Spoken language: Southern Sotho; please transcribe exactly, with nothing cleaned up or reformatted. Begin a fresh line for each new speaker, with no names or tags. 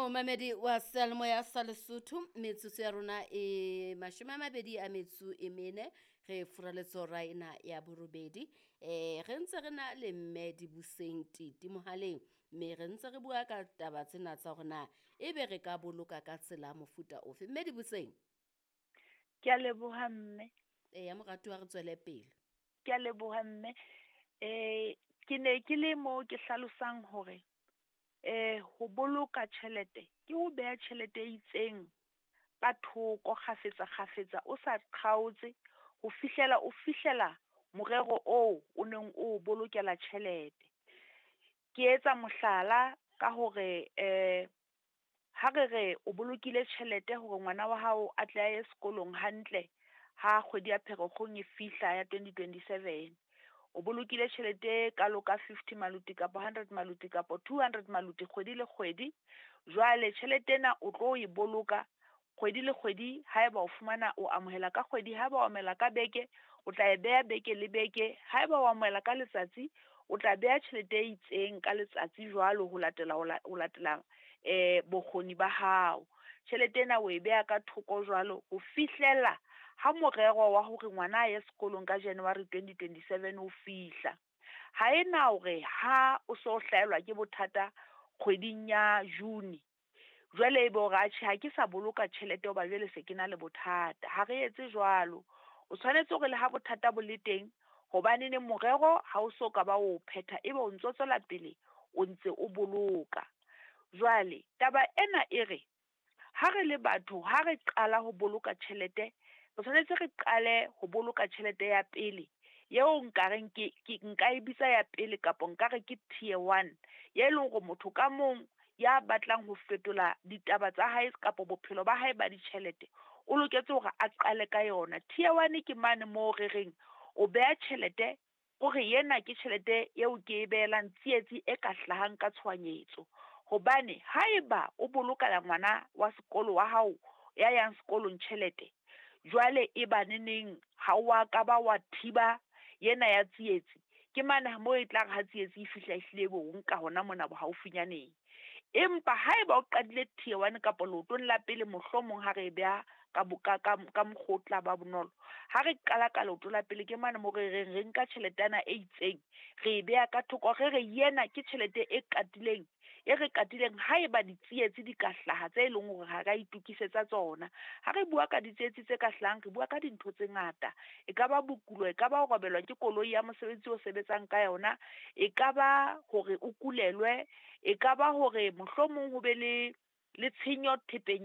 Momamedi wa seyalemoya sa Lesotho, metsotso ya rona e mashome a mabedi a metso e mene, re furaletse hora ena ya borobedi. Eh re ntse re na le mme Dibuseng Titi mohaleng, mme re ntse re bua ka taba tsena tsa hore na ebe re ka boloka ka tsela mofuta ofe. Mme Dibuseng.
Ke a leboha mme.
Eya moratuwa re tswele pele.
Ke a leboha mme. Eh ke ne ke le mo ke hlalosang hore eh ho boloka tjhelete ke ho beha tjhelete e itseng ka thoko kgafetsa kgafetsa, o sa qhautse ho fihlela o fihlela morero oo o neng o bolokela tjhelete. Ke etsa mohlala ka hore eh ha re re o bolokile tjhelete hore ngwana wa hao a tle a ye sekolong hantle ha kgwedi ya Pherekgong e fihla ya twenty twenty seven. O bolokile tjhelete e kalo ka fifty maluti kapa hundred maluti kapa two hundred maluti kgwedi le kgwedi. Jwale tjhelete ena o tlo e boloka kgwedi le kgwedi haeba o fumana o amohela ka kgwedi, haeba o amohela ka beke, o tla e beha beke le beke, haeba o amohela ka letsatsi, o tla beha tjhelete e itseng ka letsatsi jwalo ho latela ho ho latela eh bokgoni ba hao. Tjhelete ena o e beha ka thoko jwalo ho fihlela ha morero wa hore ngwana a ye sekolong ka January twenty twenty seven o fihla. Ha ena hore ha o so hlahelwa ke bothata kgweding ya June, jwale ebe hore atjhe ha ke sa boloka tjhelete hoba jwale se ke na le bothata. Ha re etse jwalo. O tshwanetse hore le ha bothata bo le teng, hobaneneng morero ha o so ka ba o phetha, ebe o ntso tswela pele o ntse o boloka. Jwale taba ena e re ha re le batho ha re qala ho boloka tjhelete, re tshwanetse re qale ho boloka tjhelete ya pele eo nkareng ke ke nka e bitsa ya pele kapa nkare ke tier one, e leng hore motho ka mong ya batlang ho fetola ditaba tsa hae kapa bophelo ba hae ba ditjhelete o loketse hore a qale ka yona. Tier one ke mane moo re reng o beha tjhelete o re ena ke tjhelete eo ke e behelang tsietsi e ka hlahang ka tshohanyetso. Hobane haeba o bolokela ngwana wa sekolo wa hao ya yang sekolong tjhelete, jwale e ba neneng ha wa ka ba wa thiba yena ya tsietsi, ke mane moo e tla re ha tsietsi e fihla ehlile bo o nka hona mona bohaufinyaneng. Empa haeba o qadile tier one kapa leotong la pele, mohlomong ha re e beha ka ka ka ka mokgwa o tla ba bonolo. Ha re qala ka leoto la pele ke mane moo re reng re nka tjheletana e itseng, re e beha ka thoko, re re yena ke tjhelete e katileng, e re katileng haeba ditsietsi di ka hlaha tse leng hore ha ra itokisetsa tsona. Ha re bua ka ditsietsi tse ka hlahang, re bua ka dintho tse ngata. E ka ba bokulo, e ka ba ho robelwa ke koloi ya mosebetsi o sebetsang ka yona, e ka ba hore o kulelwe, e ka ba hore mohlomong ho be le le tshenyo thepeng